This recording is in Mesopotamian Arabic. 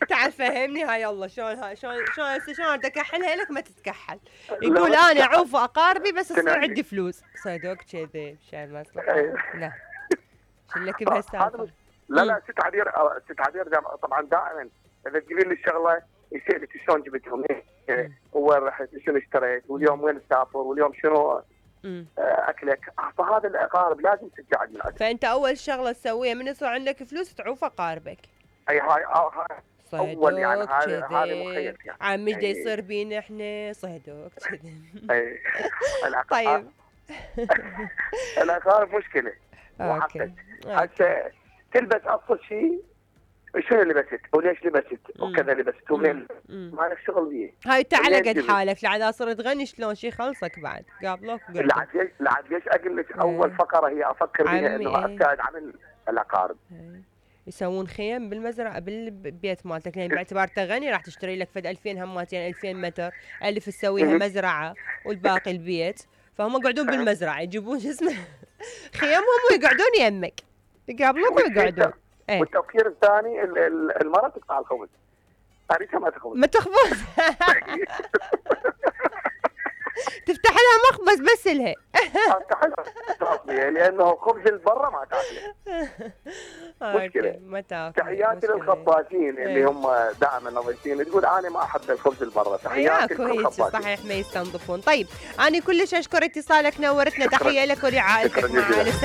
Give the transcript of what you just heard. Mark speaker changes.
Speaker 1: تعال فهمني هاي يلا شلون شلون بدي اكحلها لك ما تتكحل. يقول انا اعوف اقاربي بس تصير عندي فلوس. صدق كذي مشان مصلحه. لا شلك بهالسالفه.
Speaker 2: لا ست عبير طبعا دائما اذا تقولي لي الشغله يسالك شلون جبتهم وين رحت شنو اشتريت واليوم وين تسافر واليوم شنو اكلك. فهذا الاقارب لازم تقعد من عندك.
Speaker 1: فانت اول شغله تسويها من يصير عندك فلوس تعوف اقاربك.
Speaker 2: اي هاي اول يعني هذا مخيلتي يعني.
Speaker 1: عمي دا يصير بينا احنا صهدوك كذي.
Speaker 2: اي
Speaker 1: طيب
Speaker 2: الاقارب مشكله.
Speaker 1: اوكي
Speaker 2: حتى تلبس ابسط شيء شنو لبست وليش لبست وكذا لبست ومن ما لك شغل بيه.
Speaker 1: هاي تعال قد حالك لعد اصير تغني شلون شي خلصك بعد قابلوك
Speaker 2: لعد ليش اقول لك اول فقره هي افكر بها انه ابتعد عن الاقارب.
Speaker 1: يسوون خيم بالمزرعه بالبيت مالتك لان باعتبار تغني راح تشتري لك فد 2000 همات يعني 2000 متر 1000 تسويها مزرعه والباقي البيت. فهم يقعدون بالمزرعه يجيبون شو اسمه خيمهم ويقعدون يمك يقابلوك ويقعدون.
Speaker 2: والتفكير الثاني المرأة تقطع الخبز. أريدها ما تخبز.
Speaker 1: ما تخبز. تفتح لها مخبز بس لها.
Speaker 2: افتح لها لأنه خبز البرة ما تاكله. مشكلة.
Speaker 1: ما تاكل.
Speaker 2: تحياتي للخبازين اللي هم دائما نظيفين تقول أنا ما أحب الخبز البرة. تحياتي
Speaker 1: للخبازين. صحيح ما يستنظفون. طيب أنا كلش أشكر اتصالك نورتنا. تحية لك ولعائلتك معنا.